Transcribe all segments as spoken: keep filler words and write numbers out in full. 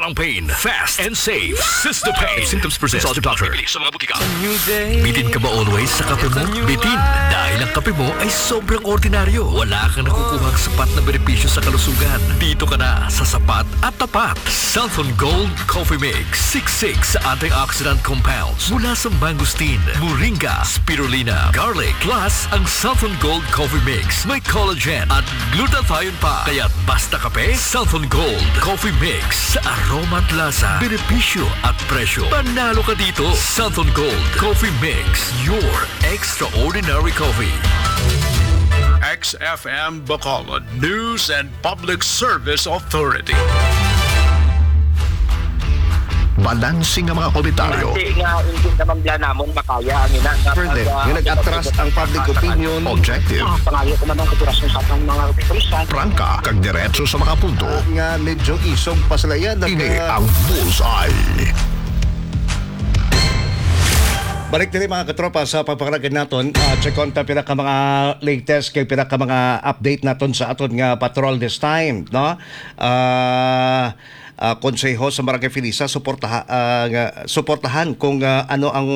Ang pain, fast and safe. Sister Pain. If symptoms persist, consult your doctor. Sa mga butika. Bitin ka ba always sa kape mo? Bitin, dahil ang kape mo ay sobrang ordinaryo. Wala kang nakukuhang sapat na benepisyo sa kalusugan. Dito ka na sa sapat at tapat. Santhon Gold Coffee Mix. Siksik sa antioxidant compounds mula sa mangosteen, moringa, spirulina, garlic. Plus, ang Santhon Gold Coffee Mix may collagen at glutathione pa. Kaya basta kape, Santhon Gold Coffee Mix. Sa aroma at lasa, benepisyo at presyo, panalo ka dito. Santhon Gold Coffee Mix, your extraordinary coffee. X F M Bacolod News and Public Service Authority. Balanse nga mga komentaryo. Hindi nga, hindi naman bla namon makaya ang ina nga Further, pag, ah, nga nag-atras ang public opinion. Objective. Ah, pangayo ko man ang operasyon sa atong mga opisyal. Prangka, kag diretso sa mga punto. Ah, nga medyo isog pa sila yan. Ini ang Bullseye. Balik diri, mga katropa, sa pagpakalagan naton. Ah, check on ta pila ka mga latest kay pila ka mga update naton sa aton nga patrol this time, no? Ah, ah, konseho sa Barangay Felisa, suportaha-, ah, nga, suportahan kung, ah, ano ang,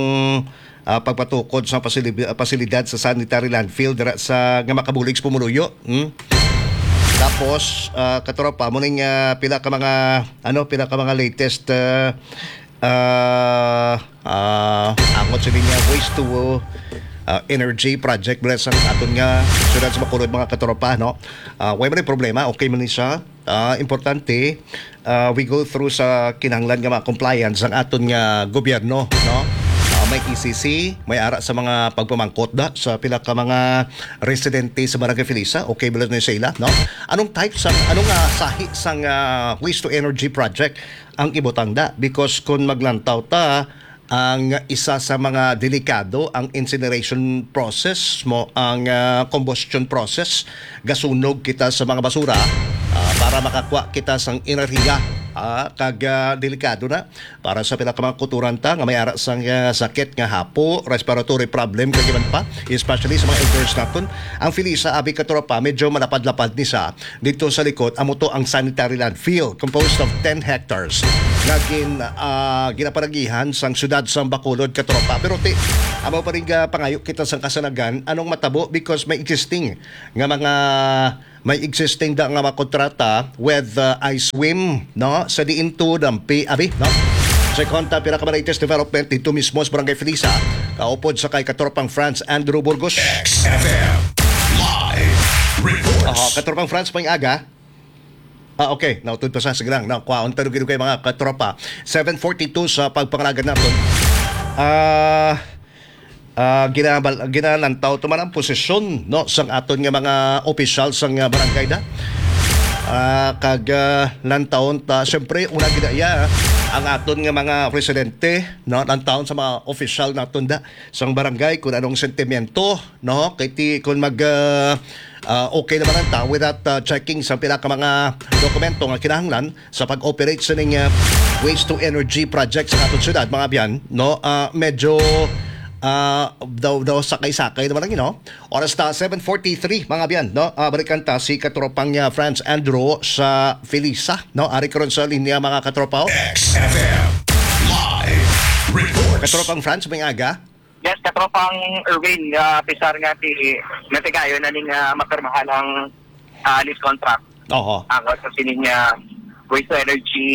ah, pagpatukod sa pasili-, pasilidad sa sanitary landfill dira sa, nga makabulig sa pumuluyo. Hmm? Tapos, ah, katropa, muning, ah, pila ka mga, ano, pila ka mga latest, ah, ah, ah, angot sini nga waste to, ah, energy project mula sa aton nga siyudad sa Bacolod, mga katropa, no? Ah, way man ang problema, okay man ni siya. Ah, importante, ah, we go through sa kinahanglan nga mga compliance ang aton nga gobyerno, no? Ah, may E C C, may ara sa mga pagpamangkot da sa pila ka mga residente sa Barangay Felisa. Okay ba ni sa ila, no? Anong type sang, anong, ah, sahi sang, ah, waste to energy project ang ibutang da? Because kung maglantaw ta, ang isa sa mga delikado ang incineration process mo, ang, ah, combustion process, gasunog kita sa mga basura, ah, para makakuha kita sang enerhiya, ah, kag, ah, delikado na para sa pila ka mga kutoran ta nga may ara sang, ah, sakit nga hapo, respiratory problem, kag iban pa, especially sa mga elders naton. Ang Felisa, abi, katropa, medyo malapad-lapad ni sa dito sa likod, amo to ang sanitary landfill, composed of ten hectares, nga gin-, ah, ginapalagihan sang siyudad sang Bacolod, katropa. Pero ti, amo pa rin nga pangayo kita sang kasanagan, anong matabo, because may existing nga mga, may existing da nga mga kontrata with, ah, I swim, no? Sa diin to dampi, abi, no? Sa konta, pila ka mga latest development dito mismo sa Barangay Felisa, kaupod sa kay Katropang Franz Andrew Burgos. X F M Live Reports. Aha, Katropang Franz, pang aga. Ah, okay. Nautod pa sa, sige lang. Na, kwaon, pero gid kay mga katropa. Seven forty-two sa pagpangalagan naton. Ah, ah, ginabal-, ginalantaw to man ang posisyon, no, sang aton nga mga opisyal sang, ah, barangay da. Ah, kag, ah, lantawon ta, siyempre, una gid iya, ang aton nga mga residente, no, lantawon sa mga opisyal naton da sang barangay kung anong sentimiento, no? Kay ti, kung mag, ah, ah, okay naman ang tao without, ah, checking sa pila ka mga dokumento nga kinahanglan sa pag-operate sa ning, ah, waste to energy project sa atong syudad, mga abyan, no? Ah, medyo, ah, daw, daw sakay-sakay naman lang, you know? Oras na seven forty-three, mga abyan, no? Ah, balikan ta si katropang, ah, Franz Andrew sa Felisa, no? Ari karon sa linya, mga katropa, oh. X F M Live Reports. Katropang Franz, may aga? Yes, katropang Erwin, ah, pisar nga ti, nga tigayon na ning, ah, mapirmahan ang, ah, lease contract. Oho. Ang sa sining, ah, waste to energy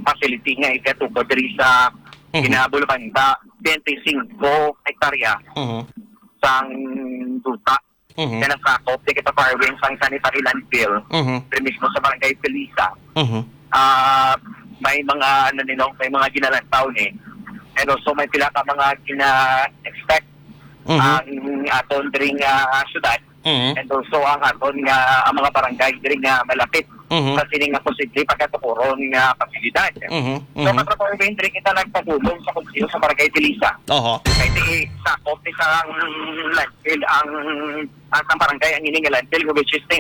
facility nga ikatukod diri sa Mhm. Ginabulbanda, twenty-five hektarya Mhm. sang duta. Mhm. Nga nasakop ti kita Parwin sang sanitary landfill, Mhm. diri mismo sa Barangay Felisa. Mhm. Ah, may mga, ano, ni, no, may mga ginalantaw ni. And also, may pila ka mga gina-expect Mhm. ang aton diri nga syudad. Mhm. And also, ang aton nga, ang mga barangay diri nga malapit Mhm. sa sining nga posible pagkatukuron nga pasilidad. Mhm. So, Mhm. Katropang Erwin, diri kita nagpadulong sa Konseho sa Barangay Felisa. Oho. Kay ti sakop ni sang landfill ang, ang sang barangay ang ini nga landfill, which is ti,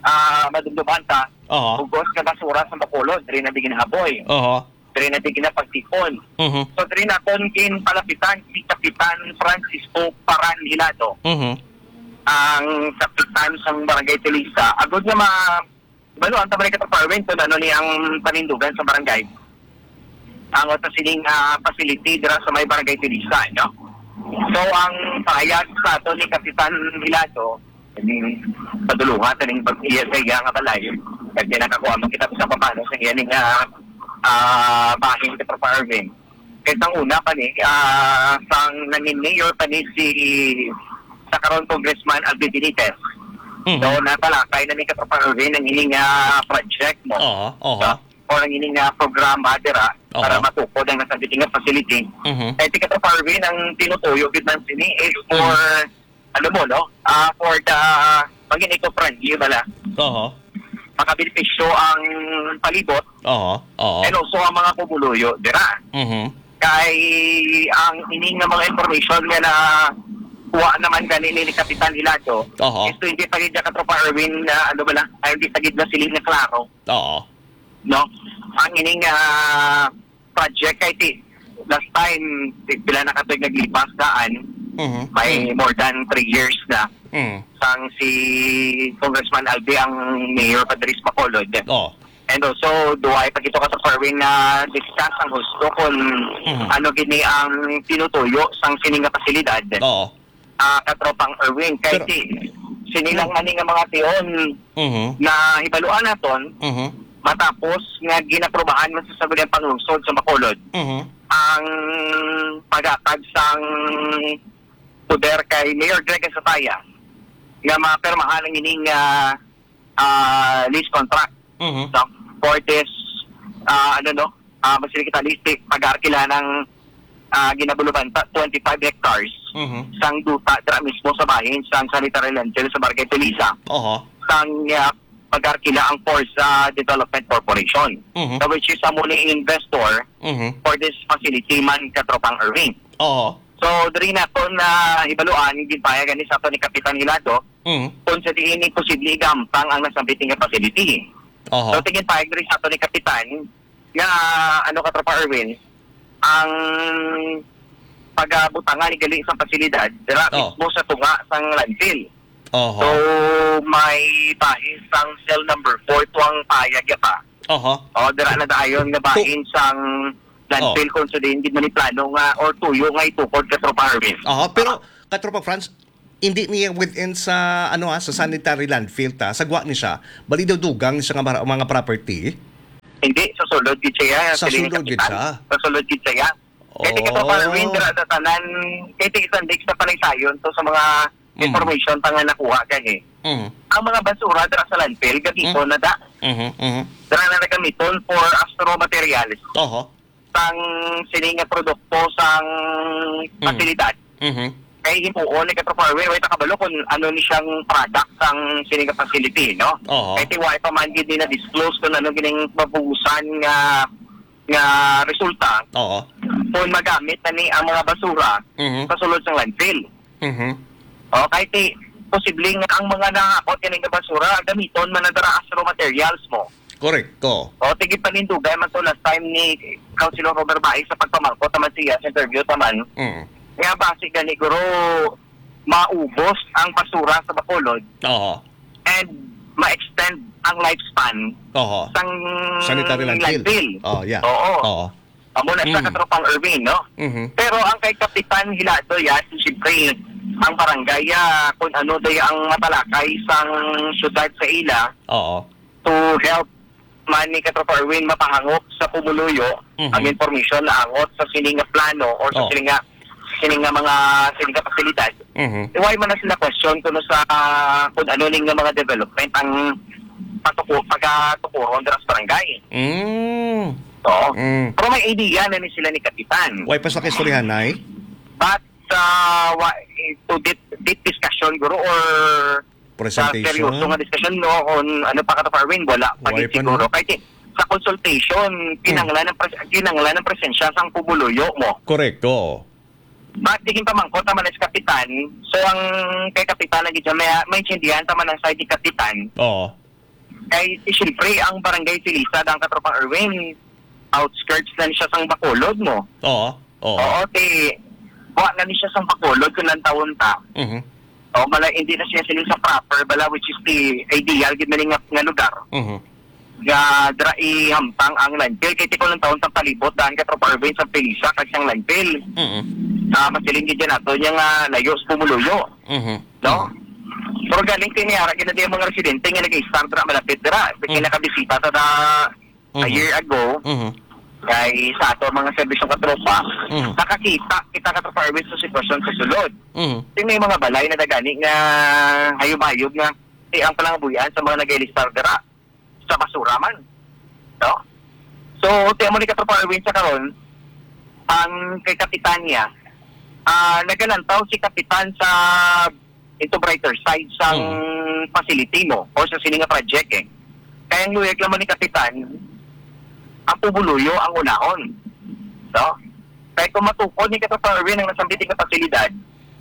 ah, madumduman ta, Oho. bugos nga basura sa Bacolod, diri na di ginahaboy. Oho. Diri na di ginapagtipon. Mhm. So, diri naton ginpalapitan si Kapitan Francisco Paran Hilado, Mhm. ang kapitan sang Barangay Felisa. Agod nga ma-, balo ang tabanay ka department kung ano ni ang panindugan sa barangay. Ang usa sining, ah, facility dira sa may Barangay Tilisa, no? So, ang pahayag sa ato ni Kapitan Hilado, ini padulungan sa ning pag-iya sa iya nga balay. Kag di nakakuha man kita sa papano sa iya ning, ah, ah, bahin sa Kapitan Arvin. Kay sang una pa ni, ah, sang nangin mayor pa ni si sa karon Congressman Alvin Benitez. Mhm. So, natalakay na ni Kapitan Arvin ang ining, ah, project mo. Oo, oo. Sa or ang ini nga programa dira Oo. Para matukod ang nasambit nga facility. Mhm. Kay si Katropa Arvin, ang tinutuyo gid man sini is for, Mhm. ano mo, no? Ah, for the, pagin eco-friendly bala. Oo. Makabenepisyo ang palibot Oo. Oo. and also ang mga pumuluyo dira. Mhm. Kay ang ini nga mga information nga na kuha naman gani ni Kapitan Hilado Oo. is hindi pa gid Katropa Arvin na ano bala, ay hindi pa gid na sila nga klaro. Oo. No? Ang ining, ah, project kay ti-, last time, ti-, pila na ka tuig naglipas daan, Mhm. may Mm. more than three years na. Mm. Sang si Congressman Albi ang mayor pa diri sa Bacolod. Oh. And also, duay pa gito ka sa Fairway na discuss ang husto kung Mhm. ano gini ang tinutuyo sang sini nga pasilidad. Oo. Ah, katropang Erwin. Kay Pero si, sini lang Mm. man nga mga tion Mhm. na hibaluan naton Mhm. matapos nga ginaprubahan man sa Sangguniang Panglungsod sa Bacolod Mhm. ang paghatag sang poder kay Mayor Greg Sataya nga mapirmahan ang ining, ah, ah, lease contract Mhm. no? For this, ah, ano, no? Ah, mas kita list, pag-arkila ng, ah, Ginabulubanta, twenty-five hectares Mhm. sang duta dira mismo sa bahin sang sanitary landfill sa Barangay Tulisa. Oho. Sang, ah, pag-arkila ang Forza Development Corporation. Mhm. So, which is amo ni investor Mhm. for this facility man, Katropang Erwin. Oho. So, diri naton na hibaluan, ginpahayag ni sa ato ni Kapitan Hilado, Mm. kung sa diin ni posible igampang ang nasambit nga facility. Oho. So, tingin pahayag diri sa ato ni Kapitan nga, ano, Katropa Erwin, ang pagabutanga ni gali sa pasilidad dira Oh. mismo sa tunga sang landfill. Oho. So, may bahin sang cell number four to ang pahayag ya pa. Oho. O, dira na dayon nga bahin sang landfill Oh. kung sa diin gid man ni plano nga or tuyo nga itukod, Katropa Erwin. Oho, pero, Katropa Franz, hindi niya within sa, ano, ah, sa sanitary landfill ta, sa gwa ni siya. Bali daw dugang siya nga mara-, mga property. Hindi, sa sulod gid siya, Sa siling sulod gid kapitan. siya? Sa sulod gid siya. Kay ti Oh. Katropa Erwin, dira sa tanan, kay ti isang digs na panaysayon to sa mga Mm. information pa nga nakuha gani. Mm. Ang mga basura dira sa landfill, gamiton Mm. na da. Mhm, mhm. Dira na nagamiton for as raw materials. Oho. Sang sini nga produkto sang Mm. pasilidad. Mhm. Kay himuon ni Katropa Erwin, way ta kabalo kung ano ni siyang product sang sini nga facility, no? Oho. Kay ti way pa man gid ni na-disclose kung ano gining mabugusan nga, nga resulta. Oo. Kung magamit na ni ang mga basura Mhm. sa sulod sang landfill. Mhm. O, kay ti, posible nga ang mga nahakot kini nga basura, gamiton man na dira as raw materials mo. Correct, oo. O, tigid panindugay man to last time ni Councilor Robert Baez sa pagpamangkot naman siya sa interview taman. Mm. Nga basi gani, guro, maubos ang basura sa Bacolod Oo. and ma-extend ang lifespan Oo. sang Sanitary landfill. landfill. Oh, yeah. Oo. Oo. Amo na sa Mm. Katropang Erwin, no? Mhm. Pero ang kay Kapitan Hilado, yan, siyempre, ang barangay, ah, kung ano day ang matalakay sang syudad sa ila Oo. to help man ni Katropa Erwin mapahangop sa pumuluyo, Mhm. ang information na angot sa sini nga plano or sa Oh. sini nga, sini nga mga, sini nga pasilidad. Mhm. Why man na sila question kuno sa, kung ano ning nga mga development ang patuko-, pagatukuron dira sa barangay. Mm. Oo. Mm. Pero may idea na ni sila ni Kapitan. Why pa sa kaistoryahanay? But, uh, wa-, to deep, deep discussion, guro, or sa Presentation? seryoso nga discussion, no, on ano pa ka, Farwin, wala pa Why gid pa, siguro. no? Kay ti-, sa consultation, Hmm. kinahanglan ng pres-, kinahanglan ng presensya sang pumuluyo mo. Correct, oo. But di pamangkot naman sa kapitan. So, ang kay kapitan lagi dyan, may, may intindihan naman ang side ni kapitan. Oo. Kay, eh, siyempre, ang barangay Silisad, ang katropang Erwin, outskirts na ni siya sang Bacolod mo. Oo. Oo. Oo, ti, wa na ni siya sang Bacolod kung nantawon ta. Mhm. O, bala, hindi na siya sila sa proper, bala, which is the ideal, gid na nga, nga lugar. Mhm. nga dira ihamtang ang landfill. Kay tiko ng taon sa palibot daan ka Tropa Arvin sa Pilisa kag sang landfill. Mm. Ah, masiling gid yan ato niya nga layo sa Pumuluyo. Mhm. No? Mhm. Pero galing kay may ara gid na diyan mga residente nga nag-start dira malapit dira. Kay Mm. nakabisita ta da a Mhm. year ago, Mhm. kay sa ato mga serbisyong katropa, Mhm. nakakita kita katropa Arvin sa sitwasyon sa sulod. Mhm. Kay may mga balay na dagani nga hayub-hayub nga, eh, ang palangabuhian sa mga nag-ilistar dira sa basura man. No? So, ti amo ni katropa Arvin sa karon, ang kay Kapitanya, ah, nagalantaw si Kapitan sa into brighter side sang Mm. facility mo or sa sini nga project eh. Kaya ang luyag naman ni Kapitan, ang Pumuluyo ang unahon. No? Kaya kung matukod ni Katropa Erwin ang nasambit nga pasilidad,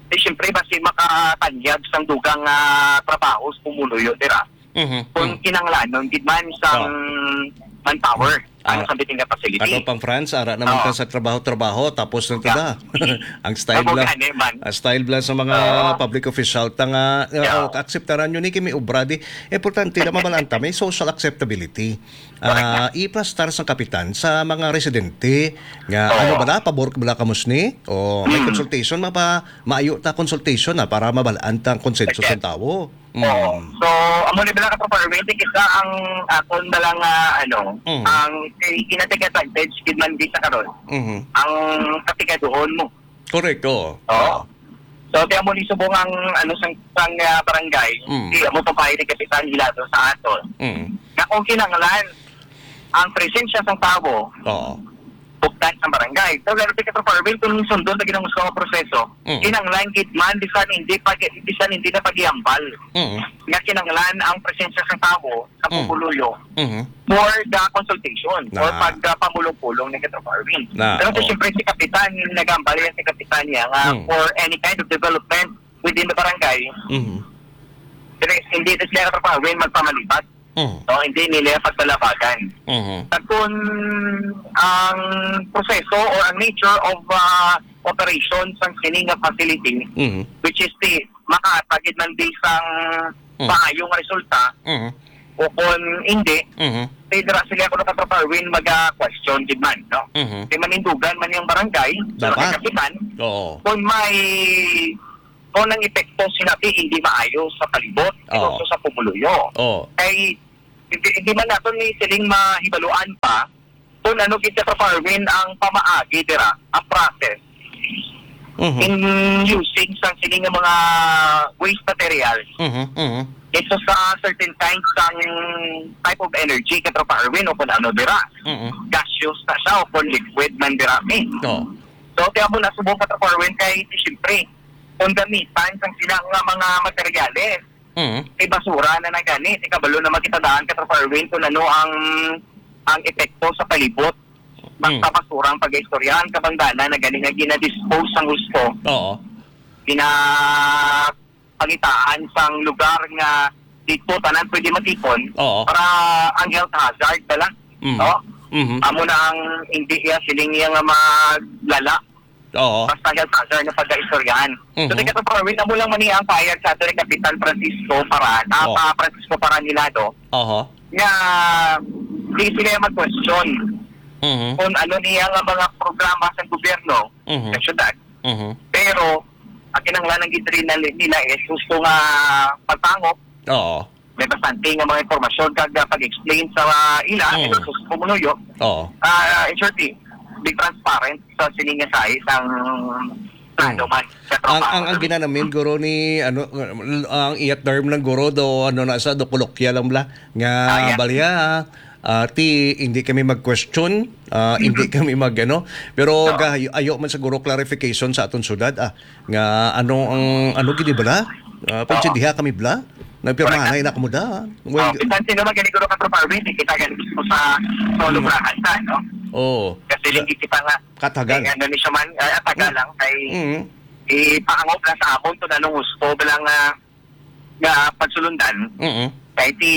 di siyempre basi makatanyag sang dugang ah, trabaho sa Pumuluyo, dira. Mhm. Kung Mm. kinanglanon gid man sang Oh. manpower, ano Ah, sa biting nga facility. Katropang Franz, ara naman Oh. ta sa trabaho-trabaho, tapos na ta Yeah. da. Ang style Amo lang, gani man. ang style lang sa mga Oo. public official ta nga, uh, Yeah. oh, akseptaran nyo ni kimi obra di. Importante na mabalaan ta, may social acceptability. Correct Ah, na. Iplastar sa kapitan sa mga residente nga, Oo. ano ba na, pabor ka bala kamo sini? O may Mm. consultation, mapa, maayo ta consultation na para mabalaan ta ang konsenso Correct. sa tawo. Oo. Mm. So, amo ni bala ka, Tropa Erwin, kita ang akon bala nga, ano, Mm. ang kay ginatake advantage gid man di sa karon. Mhm. Ang katigaduhon mo. Correct, oo. Oo. Oo. So, kaya mo ni subong ang, ano, sang, sang, ah, barangay, Mm. di mo pa ni Kapitan Hilado sa aton. Mm. Na kung kinahanglan, ang presensya sang tawo, Oo. buktan sang barangay. So, pero di ka performing kung sundon lagi ng gusto nga proseso. Mm. Kinanglan gid man, bisan hindi pag, bisan hindi na pag-iambal. Mm. Nga kinanglan ang presensya sa tawo sa Mm. Pumuluyo Mhm. for the consultation or Na. pag, ah, pamulong-pulong ni Katropa Arvin. Na, Pero oh. siyempre si Kapitan, yung nag-ambal yan si Kapitan niya nga Mm. for any kind of development within the barangay, Mhm. hindi, hindi na sila Katropa Arvin magpamalibat. Mhm. No, hindi nila pagpalabagan. Mhm. Kag kun ang proseso or ang nature of, ah, operation sang sini nga facility, Mhm. which is the makahatag gid man di sang Mhm. maayong resulta, Mhm. o kun hindi, Mhm. kay dira sila kuno ka Tropa Erwin maga-question gid man, no? Mhm. Kay manindugan man yung barangay, Dapat. sa kapitan, Oo. kung may, kung ang epekto sinabi hindi maayo sa palibot, Oo. also sa pumuluyo. Oo. Kay hindi, hindi man nato ni siling mahibaluan pa kung ano gid sa farming ang pamaagi dira, ang process Mhm. in using sang sini nga mga waste materials Mhm, mhm. into sa certain kinds sang type of energy, Katropa Erwin, o kung ano dira. Mhm. Gaseous na siya o kung liquid man dira, eh. Oo. So, kaya mo nasubong, Katropa Erwin, kay siyempre, kung gamitan sang sila nga mga materyales, Mm. Kay basura na na gani. Di kabalo na makita daan ka, Tropa Erwin, kung ano ang, ang epekto sa palibot. Basta Mm. basura ang pag-istoryahan, kabangdanan na gani nga ginadispose sang husto. Oo. Ginapangitaan sang lugar nga dito tanan pwede matipon Oo. para ang health hazard bala. Mm. No? Mhm. Amo na ang hindi iya siling iya nga maglala. Oo. Basta health hazard na pag-istoryahan. So, Mhm. di ka to, Erwin, amo lang man ni ang fire sa ato ni Kapitan Francisco Paran, ah, Oo. pa Francisco Paran Hilado, Oho. nga di sila mag-question Mhm. kung ano niya nga mga programa sa gobyerno Mhm. sa syudad. Mhm. Pero, ang kinahanglan ng gid rin na nila is gusto nga pagpangop Oo. may bastante nga mga impormasyon kag, ah, pag-explain sa, ah, ila, Mm. and also sa pumuluyo. Oo. Ah, in short, eh, be transparent sa sining nga size ang plano Mm. man sa Ang, ang, ang trabaho. Ginanamin, guro, ni, ano, ang iyat term lang, guro, do, ano na sa, do kolokya lang bala, nga Ah, yeah. balya, ah, ti, hindi kami mag-question, ah, hindi kami mag, ano, pero Oo. ga-, ayo man siguro clarification sa aton syudad, ah, nga ano ang, ano gid bala? Ah, Oo. Pagsindiha kami bala? Nagpirmahanay Correct. na kamo da. Well, Oh, bisan sino man gani, guro, ka Tropa Arvin, di kita gani mismo sa solo Mm. bracket na, no? Oo. Kasi Sa lagi kita nga, katagal. eh, ano ni siya man, ay, atagal Mm. lang, kay Mm. ipaangop lang sa amon kung anong gusto, bilang, ah, nga pagsulundan. Mm. Kay ti,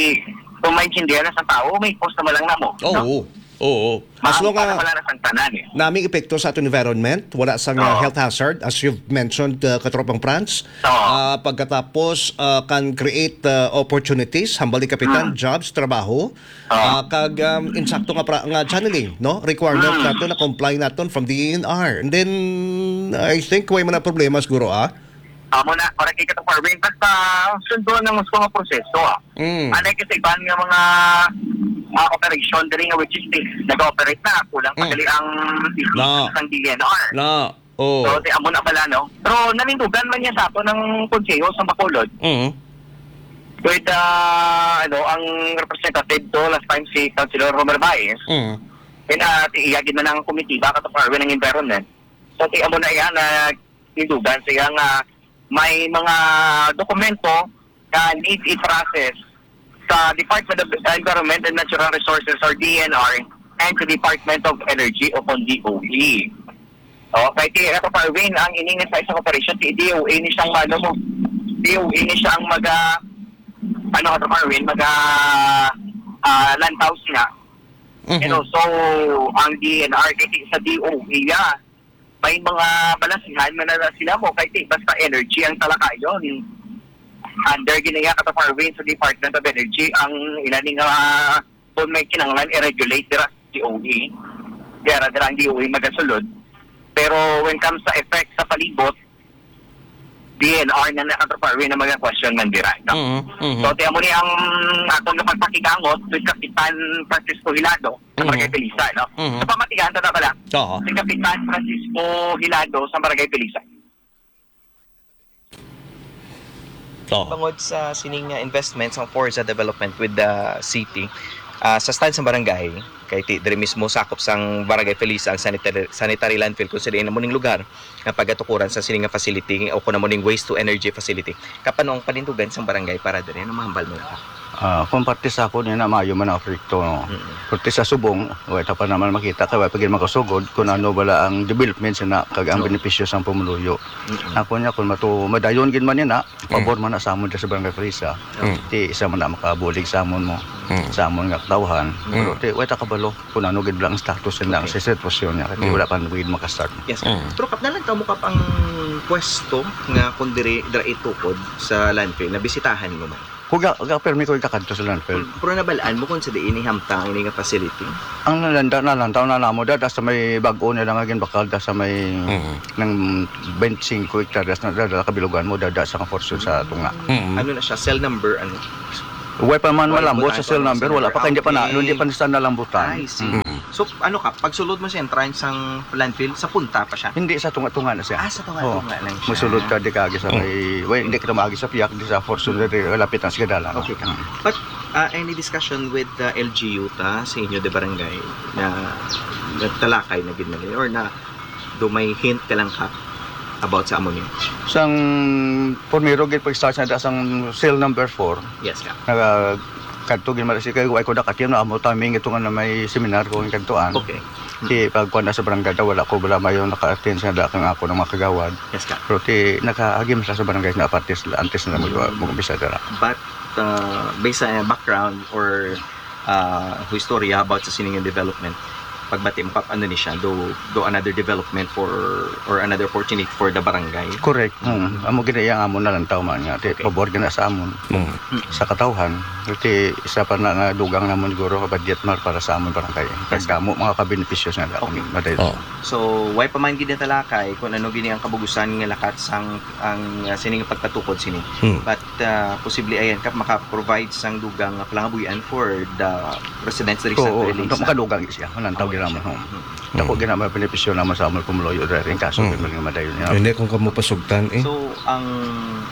kung maintindihan na sa tao, may post naman lang namo, Oo. no? Oo. As long, ah, wala na sang tanan, eh. Naming epekto sa aton environment, wala sang, ah, health hazard, as you've mentioned, ah, Katropang Franz. Oo. Ah, pagkatapos, ah, can create, ah, opportunities, hambal ni Kapitan, jobs, trabaho. Oo. Ah, kag, um, insakto nga pra-, nga channeling, no? Requirement naton na comply naton from D E N R. And then, I think, way man ang problema siguro, ah. Amo na, para kay Katropang Erwin, basta sundon ang gusto nga proseso, ah. Mm. Anay kasi iban nga mga, ah, operation diri nga which is nag-ooperate na, kulang pa gali ang D N R. No. Oh. So, di amo na bala, no? Pero nanindugan man niya sa ato ng konseho sa Bacolod. Mm. With, ah, ano, ang representative to last time si Councilor Romer Baez. Mm. Then, ah, ti-, iya gid man ang komitiba, Katropang Erwin, ang environment. So, ti amo na iya na tindugan siya nga may mga dokumento nga need i-process sa Department of Environment and Natural Resources or D E N R and sa Department of Energy o kon D O E. Oh, kay ti Katropang Erwin, ang ining sa isang operation, ti D O E ni siyang mano mo. D O E ni siyang maga, ano, Katropang Erwin, maga, ah, lantaw sila. Mhm. And also, ang D E N R, kay ti sa D O E, ya, may mga balasihan man na sila mo, kay ti basta energy ang talakayon. Under gini nga, Katropang Erwin, sa Department of Energy, ang ila ni nga kung may kinahanglan i-regulate dira sa D O E. Dira, dira ang D O E magasulod. Pero when comes sa effect sa palibot, D E N R na na, Katropang Erwin, ang mga question man dira, no? Mhm, mhm. So, ti amo ni ang atong pagpakigangot with Kapitan Francisco Hilado sa Barangay Pilisa, no? Mhm. Sa pamatigahan ta na pala, oo, si Kapitan Francisco Hilado sa Barangay Pilisa. Oo. Bangod sa sining, ah, investment sa Forza Development with the city, ah, sa stand sa barangay, kay ti-, diri mismo sakop sang Barangay Felisa ang sanitary, sanitary landfill kung sa diin amo ning lugar nga pagatukuran sa sini nga facility o kun amo ning waste to energy facility. Kap-, ano ang panindugan sang barangay para diri? Ano mahambal mo na ka? Ah, kung parte sa ako, niya na maayo man ang proyekto, no? Mm-mm. Parte sa subong, wala ta pa naman makita, kay wala pa gid makasugod kung ano bala ang development sina, kag ang benepisyo sang pumuluyo. Mm-mm. Ako niya, kung matu-, madayon gid man niya na, pabor man na sa amon diri sa Barangay Felisa. Mm. Ti isa man na makabulig sa amon mo, mm, sa amon nga katawhan. Mm. Pero ti, wala ta kabalo kung ano gid lang ang status niya, okay, sa sitwasyon niya, kay wala pa gid makastart. Yes, sir. Mm. Pero kap-, nalantaw mo, kap, ang pwesto nga kung diri, dira itukod sa landfill, nabisitahan mo man? Kuga, ga, permi ko ikakadto sa landfill. Pero nabal-an mo kung sa diin ihamtang ini nga facility? Ang nalanda, nalantaw na namo, da, da sa may bag-o nila nga ginbakal, da sa may, mm, nang twenty-five hektaryas na, da, da, kabilugan mo, da, da sa nga portion sa tunga. Mm. Ano na siya? Cell number, ano? Way pa man malambot sa cell number, wala pa, kay hindi pa na, hindi pa na siya nalambutan. I see. Mm. So, ano ka, pagsulod mo sa entrance sang landfill, sa punta pa siya? Hindi, sa tunga-tunga na siya. Ah, sa tunga-tunga lang siya. Musulod ka, di ka agi sa may, way, hindi ka maagi sa piyak, di sa portion, di, lapit na sa dalan. Okay ka. Mm. But, ah, any discussion with the L G U ta sa inyo de barangay na nagtalakay na gid na, or na do may hint ka lang ka about sa amo niyo? Sang primero gid pag-start na da sang cell number four. Yes, ka. Naga-, kadto gid man si kay, way ko nakatim na amo timing ito nga na may seminar ko kadtuan. Okay. Ti pagkuan na sa barangay, da, wala ko, wala mayo naka-attend sa da kang ako ng mga kagawad. Yes, ka. Pero ti nakaagi man sa, sa barangay na parties, antes na mag-, mag-umpisa dira. But, uh, based sa background or, uh, istorya about sa sining development, pagbati mo, Kap, ano ni siya, do, do another development for, or another opportunity for the barangay? Correct. Mm. Amo gid iya ang amon nalantaw man nga. Ti, okay, pabor gid na sa amon. Mm. Sa katawhan, ti isa pa na nga dugang namon siguro ka budget mar para sa amon barangay. Yes, sir. Kag damo mga kabenepisyo sa, okay, madayon. Oh. So, way pa man gid natalakay kung ano gini ang kabugusan nga lakat sang, ang, ah, sining pagpatukod sini. Hmm. But, ah, posible ayan ka maka-provide sang dugang nga palangabuhian for the residents diri sa, oo, Felisa. Makadugang siya. Malantaw gid naman, oh. Hmm. Dako gid na mga benepisyo naman sa amon pumuluyo diri, in kaso, mm, may mga madayon niya. Hindi, kung kamo pasugtan, eh. So, ang,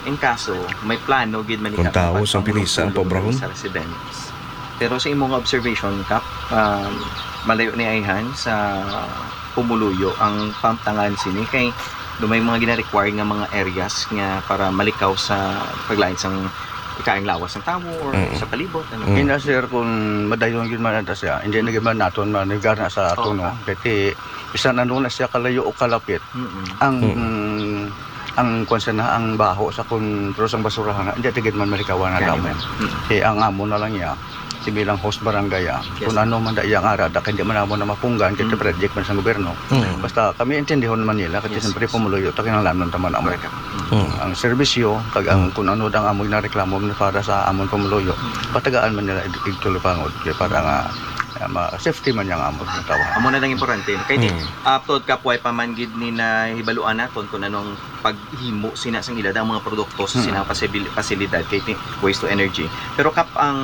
in kaso, may plano gid man kung ika-, tawo sa pagpamulong-pulong Pilisa ang pobrahon sa residents. Pero sa imong observation, Kap, um, malayo ni ayhan sa pumuluyo ang pamtangan sini kay do may mga gina-require nga mga areas nga para malikaw sa paglain sang ikaayong lawas ng tawo or, mm, sa palibot, ano? Mm. Ina, sir, kung madayon gid man ata siya, hindi na gid man naton manigar na sa ato, oh, no? Kay ti, bisan ano na siya kalayo o kalapit, mm-mm, ang, mm, ang kwan siya na, ang baho sa kun-, pero sang basurahan na, hindi tigid man malikawan na. Kaya damo. Mm. Kaya ang amo na lang niya, Si bilang host barangay, ah, Yes. kung ano man da iya nga ara, da kay di man amo na mapunggan, kay Mm. project man sa gobyerno. Mm. Basta kami intindihon man nila, kay Yes, siyempre yes. pumuluyo ta, kinahanglanon ta man amo. Correct. Mm. Ang serbisyo, kag ang Mm. kung ano dang amo ginareklamo man para sa amon pumuluyo, Mm. patagaan man nila ig-, igtulipangod, kay para nga, ah, ma-, safety man yang amon nga tawo. Amo na lang importante. Kay di, Mm. ah, tuod, Kap, way pa man gid ni nahibaluan naton kung anong paghimo sina sang ila dang mga produkto sa Mm. sina pasibil-, pasilidad kay ti-, waste to energy. Pero, Kap, ang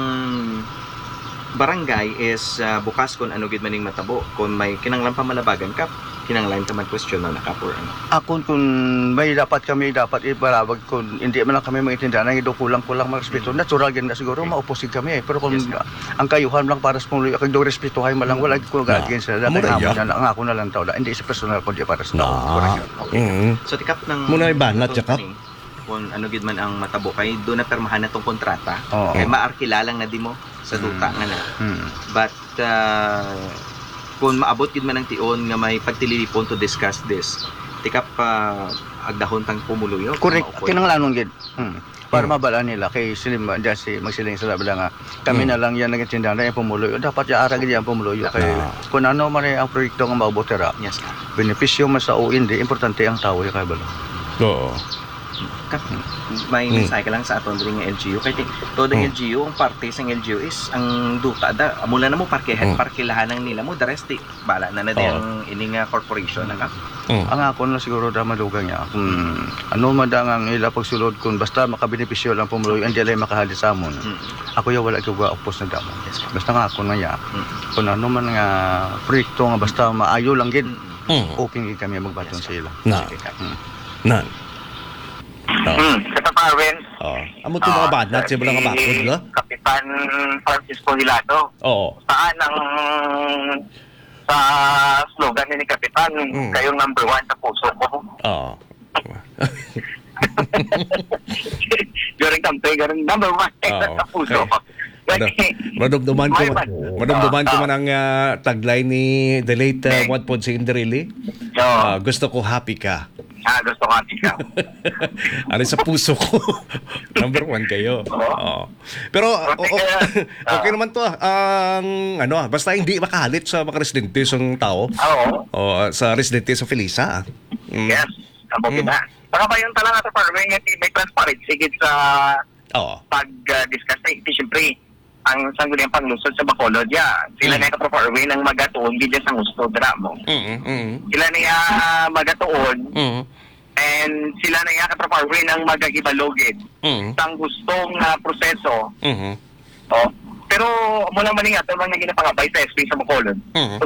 barangay is, ah, bukas kung ano gid man ning matabo. Kung may kinahanglan pa malabagan, Kap, kinahanglan ta man question na, Kap, or ano. Akon, kung may dapat kami dapat ipalabag, kung hindi man lang kami maintindihan, ang ido kulang-kulang mga respeto, Mm. natural gid na siguro, Okay. maupos gid kami, eh. Pero kung Yes, Kap. ang kayuhan lang para sa pumuluyo, kag do respetuhay man lang, wala gid ko Amo na against sa iya. Amo na dati, amo iya. na lang, ang ako na lang tao na, hindi sa personal, kundi para sa tao. Na. Correct. Okay. Mm. So, tikap ng Muna iba, na, company, tsaka? Kung ano gid man ang matabo, kay doon na pirmahan na tong kontrata. Oo. Kay maarkila lang na di mo sa duta Mm. nga na. Mm. But, ah, kung maabot gid man ang tion nga may pagtililipon to discuss this, tikap pa agdahon tang pumuluyo, Correct. maupod. Kinahanglanon gid. Hmm. Para Hmm. mabalaan nila kay sila ma-, diya si, magsiling sila bala nga, kami Hmm. na lang yan naging tindahan, yung pumuluyo. Dapat yaara gid ang pumuluyo kay Ah. kung ano man ang proyekto nga maabot dira, Yes, sir. benepisyo man sa o hindi, importante ang tawo yung kabalo. Oo. Kap-, may Hmm. mensahe ka lang sa aton diri nga L G U. Kay ti-, todo ang Hmm. L G U, ang parte sang L G U is ang duta da. Amo lang na mo, parke-, Hmm. parkilahan lang nila mo. The rest, di, bala na na di Oo. ang ini nga corporation, na ka? Mm. Ang ako na siguro da madugang niya, kung ano man da nga ang ila pagsulod, kung basta makabenepisyo lang pumuluyo, hindi lang makahalit sa amon. Mm. Ako ya wala ko ga-oppose na damo. Yes, sir. Basta nga ako na ya, Mm. kung ano man nga proyekto nga basta maayo lang gid, Mm. Mm. open gid kami magbaton Yes, sa sir. ila. Na. Sige, sir. Mm. Na. Oh. Hmm, sa Tapawen, Oh. Amo to mga ah, banat, sa siya mga si bakod, no? Kapitan Francisco Hilado. Oo. Saan ang, sa slogan ni Kapitan, Mm. "Kayong number one sa puso ko." Oo. During campaign, ganun, "Number one Oo. sa puso ko." Mado-, madumduman ko May man, ba-, madumduman ko ah, man ang, ah, tagline ni the late, ah, Meg. Juan Ponce Enrile. Oo. Ah, "Gusto ko happy ka." Ah, gusto ko happy ka. Ano sa puso ko? Number one kayo. Oo. Oo. Pero, Kasi o-, o-, kaya, okay ah. naman to, ah. Ang, ano, ah, basta hindi makahalit sa mga residente sa tao. Ah, oo. O, sa residente sa Felisa, ah. Mm. Yes, ang Mm. pagkita. Saka ba yung talaga sa farming, eh, may transparency gid sa Oo. pag, ah, discuss. Eh, siyempre, ang Sangguniang Panglungsod sa Bacolod, ya. Sila Mm. na kaproforwin ang magatuon gid sa gusto, dira mo. Mm, mm. Sila na ya magatuon, Mm. and sila na ya kaproforwin ang magahibalogid Mm. sang gusto nga proseso. Mm. Oh. Pero mula man nga, ito lang na ginapangabay sa S P sa Bacolod. Mm.